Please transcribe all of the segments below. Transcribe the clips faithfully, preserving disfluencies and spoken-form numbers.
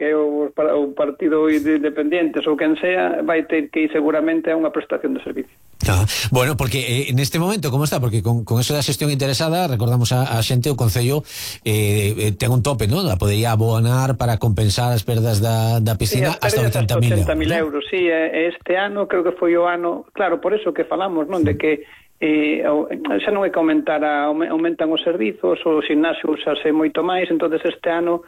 Bloque ou o Partido de Independientes ou quen sea, vai ter que ir seguramente a unha prestación de servicio. Ah, bueno, porque eh, neste momento como está, porque con, con eso da xestión interesada, recordamos a, a xente, o Concello eh, eh, ten un tope, non? A podería abonar para compensar as perdas da, da piscina, sí, hasta oitenta mil euros, euros, sí, este ano creo que foi o ano, claro, por eso que falamos, non, de que eh, xa non é que aumentara, aumentan os servizos, o gimnasio usase moito máis, entonces este ano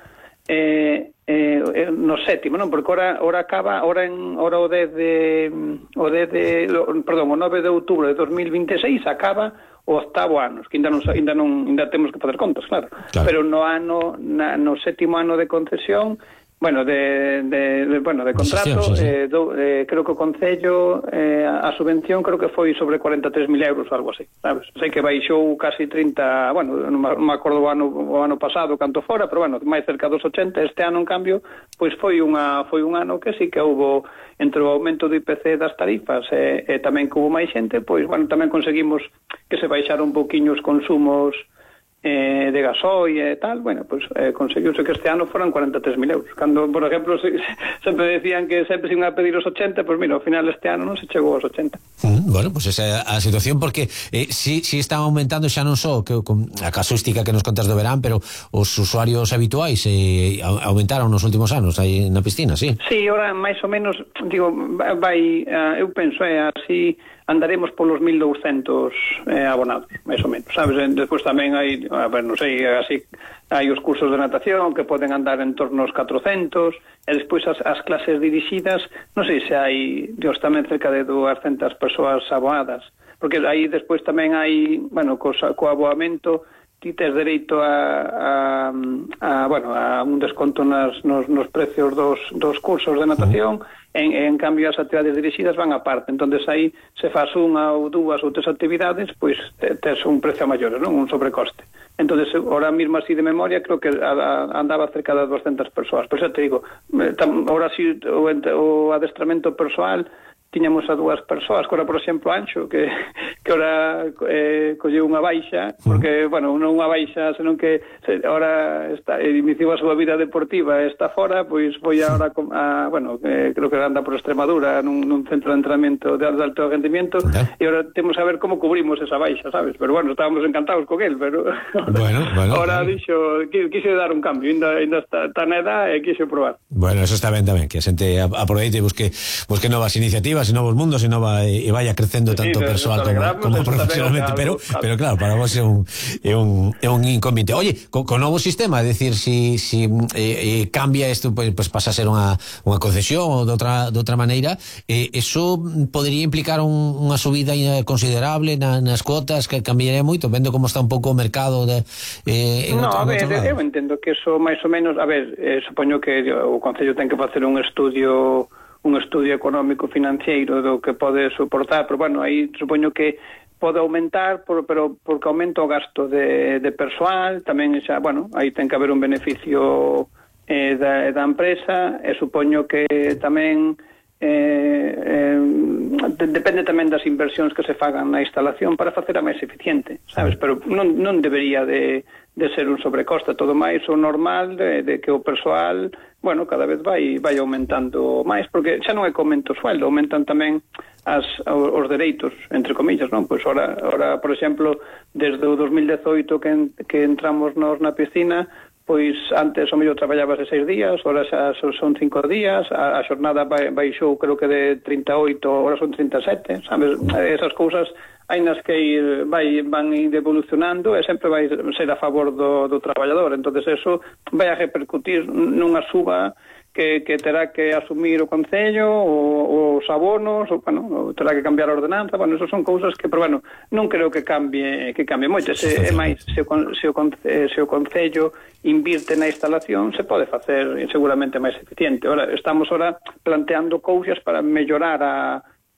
eh, eh, no sétimo, non? Porque ora, ora acaba, ora en ora o dez de o dez de, perdón, o nove de outubro de dos mil vinte e seis acaba o octavo ano, que ainda non ainda non ainda temos que facer contas, claro. claro. Pero no ano na, no sétimo ano de concesión, bueno, de, de, de bueno, de contrato, sí, sí. Eh, do, eh, creo que o Concello eh, a subvención creo que foi sobre cuarenta e tres mil euros ou algo así, sabes? Sei que baixou casi trinta, bueno, non me acordo o ano, o ano pasado canto fora, pero bueno, máis cerca dos ochenta. Este ano, en cambio, pois foi unha foi un ano que sí que houbo, entre o aumento do I P C das tarifas e, e tamén que houbo máis xente, pois, bueno, tamén conseguimos que se baixaron un poquinho os consumos Eh, de gasoil e tal, bueno, pues eh, conseguiuse que este ano foran cuarenta e tres mil euros. Cando, por exemplo, se, sempre decían que sempre se iban a pedir os ochenta, pues mira, ao final este ano non se chegou aos ochenta. Mm, bueno, pues esa é a situación, porque eh, si, si están aumentando xa non só que, con a casuística que nos contas do verán, pero os usuarios habituais eh, aumentaron nos últimos anos aí na piscina, sí? Sí, ahora máis ou menos, digo, vai, uh, eu penso, é eh, así andaremos polos mil douscentos eh, abonados, máis ou menos, sabes? Despois tamén hai, a ver, non sei, así hai os cursos de natación que poden andar en torno aos catrocentos, e despois as, as clases dirixidas, non sei se hai, dios, tamén cerca de duascentas persoas abonadas, porque aí despois tamén hai, bueno, co, co aboamento ti tes dereito a, a, a, bueno, a un desconto nas, nos, nos precios dos, dos cursos de natación, en, en cambio as actividades dirixidas van a parte, entonces aí se faz unha ou dúas ou tres actividades, pois tes un precio maior, non? Un sobrecoste. Entonces, ahora mismo así de memoria, creo que a, a, andaba cerca de doscientas persoas, por eso te digo, ahora sí o, o adestramento persoal tiñamos a dúas persoas, que ora, por exemplo, Anxo, que, que ora eh, colleu unha baixa, porque, bueno, non unha baixa, senón que se, ora está, iniciou a súa vida deportiva e está fora, pois foi agora, a, bueno, eh, creo que anda por Extremadura, nun, nun centro de entrenamiento de, de alto rendimiento, e agora temos a ver como cubrimos esa baixa, sabes? Pero, bueno, estábamos encantados con él, pero bueno, bueno, ahora bueno. dixo, quise dar un cambio, ainda, ainda está, está na edad e quise probar. Bueno, eso está ben tamén, que a xente aproveite e busque, busque novas iniciativas e novos mundos e nova e vaya crecendo tanto sí, persoal como, como profesionalmente, pero pero claro, para vos é un é un é un inconveniente. Oye, co, co novo sistema, é dicir, si si eh, eh, cambia isto, pois pues, pasa a ser unha unha concesión ou de outra de outra maneira, eh, eso podería implicar un, unha subida considerable na, nas cuotas, que cambiaría moito, vendo como está un pouco o mercado de eh, en no, outro, a ver, eu entendo que eso máis ou menos, a ver, eh, supoño que o Concello ten que facer un estudio un estudio económico financiero do que pode soportar, pero bueno, aí supoño que pode aumentar, por, pero porque aumenta o gasto de, de persoal, tamén xa, bueno, aí ten que haber un beneficio eh, da, da empresa, e supoño que tamén eh, eh, depende tamén das inversións que se fagan na instalación para facer a máis eficiente, sabes? Pero non, non debería de, de ser un sobrecoste, todo máis o normal de, de que o persoal, bueno, cada vez vai vai aumentando máis, porque xa non é que aumenta o sueldo, aumentan tamén as, os dereitos, entre comillas, non? Pois ora, ora por exemplo, desde o dos mil dezoito que, en, que entramos nos na piscina, pois antes o mellor traballabas de seis días, ora xa son cinco días, a, a xornada baixou creo que de trinta e oito, ora son trinta e sete, sabes? Esas cousas hai nas que ir, vai, van ir evolucionando e sempre vai ser a favor do, do traballador, entonces eso vai a repercutir nunha suba que, que terá que asumir o Concello, o, os abonos, o, bueno, terá que cambiar a ordenanza, bueno, eso son cousas que, pero bueno, non creo que cambie que cambie moito, se, é máis, se o, se, o, se o Concello invirte na instalación, se pode facer seguramente máis eficiente. Ora, estamos ora planteando cousas para mellorar a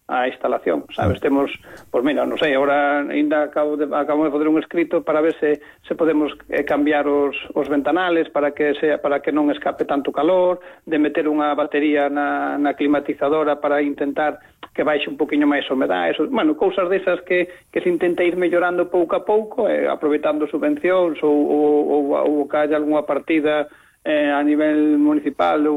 a instalación, sabes? Temos, pois mira, non sei, agora ainda acabo de, acabo de fazer un escrito para ver se, se podemos eh, cambiar os, os ventanales para que sea, para que non escape tanto calor, de meter unha batería na, na climatizadora para intentar que baixe un poquinho máis a humedade, eso, bueno, cousas desas que, que se intenta ir mellorando pouco a pouco, eh, aproveitando subvencións ou, ou, ou, ou que haya algunha partida eh, a nivel municipal ou